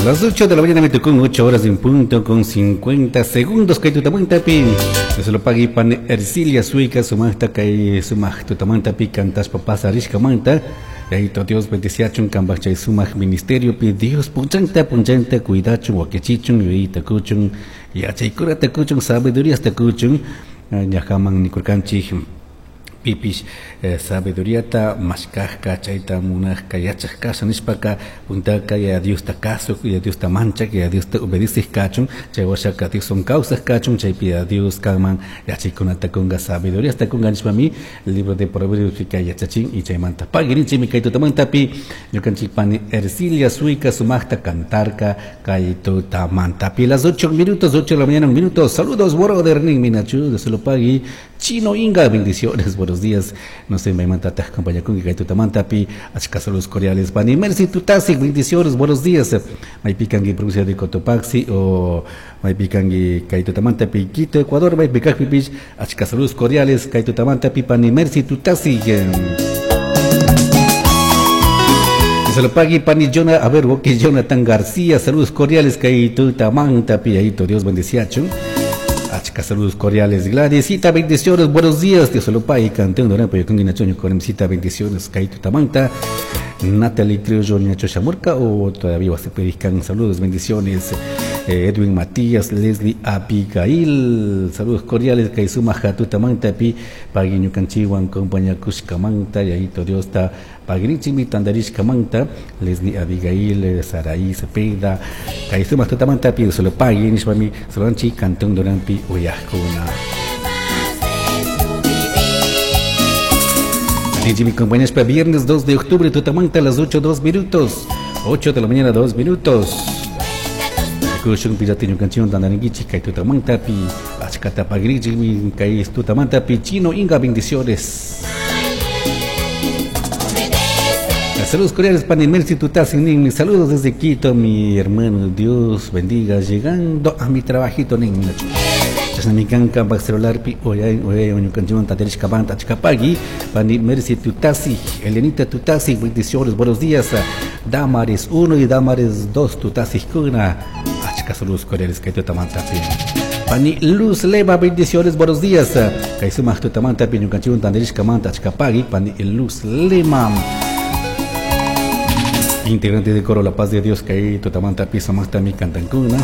Las 8 de la mañana me tocó 8 horas en punto con 50 segundos kay tutamantapi. Dios lo pague pani Ercilia Suica sumajta kay sumaj tutamantapi cantashpa pasarishkamanta. Yayito Dios bendiciachun kambaj chay sumaj ministeriopi Dios punchanta punchanta cuidachun wakichichun yuyayta kuchun yachaykunata kuchun sabiduriasta kuchun ñajaman nikurkanchik Pipish sabiduriata mashcajca, chaita munajca yachaj casha nishpaca, puntaca Yaya Diosta cazuj, Yaya Diosta manchaj, Yaya Diosta obedecij cachun, chai huashaca Dioshuan causaj cachun, chaipi Yaya Dios canman yachaicunata cunga, sabiduriasta cunga nishpami libro de Proverbiospica yachachin. Y chaimanta paguirinchimi cai tutamantapi ñucanchij pani Ercilia Suica sumajta cantarca cai tutamantapi. Las 8 minutos, 8 de la mañana, un minuto. Saludos, brother, ninmi Nacho, Dios lo pague. Chino Inga, bendiciones, buenos días. No sé, maymanta taj acompañakunki kay tutamantapi, achka saludos cordiales. Pani Mercy Tutasi, bendiciones, buenos días. Maypi kanki provincia de Cotopaxi o maypi kanki kay tutamantapi Quito, Ecuador, maypi kajpipish, achka saludos cordiales kay tutamantapi pani Mercy Tutasi. Se lo pague pani Jonah, a ver, Woki Jonathan García, saludos cordiales kay tutamantapi, ayito Dios bendiciachun. Achka saludos cordiales. Gladysita, bendiciones, buenos días. Dios lo pague, cantando, ¿no? Pero con Inachoño, con bendiciones, Kaito Tamanta. Natalie Criollo, Ñacho Chamurca, o todavía vas a pedir saludos, bendiciones. Edwin Matías, Leslie Abigail, saludos cordiales, Kaizuma Jatuta Manta, pi, Paguiño Canchihuan, compañía Cushcamanta, Yayito Dios ta, Paguinichimi, Tandarishcamanta, Leslie Abigail, Saraí Cepeda, Kaizuma Tutamanta, pi, solo pagui, nishpami, Solanchi, Cantón Durampi, Uyajcuna. Mi compañía para viernes 2 de octubre, Tutamanta, a las 8, 2 minutos. 8 de la mañana, 2 minutos. Kushun piratiño canción tandaringuichi, kay Tutamanta, pi, achkata pagrichi, mi, kay Tutamanta, pi, Chino Inga, bendiciones. Saludos cordiales, Pani Mercy Tutasi, nin, mis saludos desde Quito, mi hermano, Dios bendiga, llegando a mi trabajito, nin, Chashnami kanka pak celularpi oyay oyay ñukanchikwan tatarishka banta achkapagui Pani Mercy Tutasi, Elenita Tutasi, bendiciones, buenos días. Damaris 1 y Damaris 2 Tutasi kuna, achka saludos cordiales kay tutamantapi. Pani Luz Leva, bendiciones, buenos días. Kay sumaq tutamantapi ñukanchikwan tatarishka manta achkapagui Pani Luz Lema. Integrante de coro La Paz de Dios, kay tutamantapi sumaqtami cantankuna.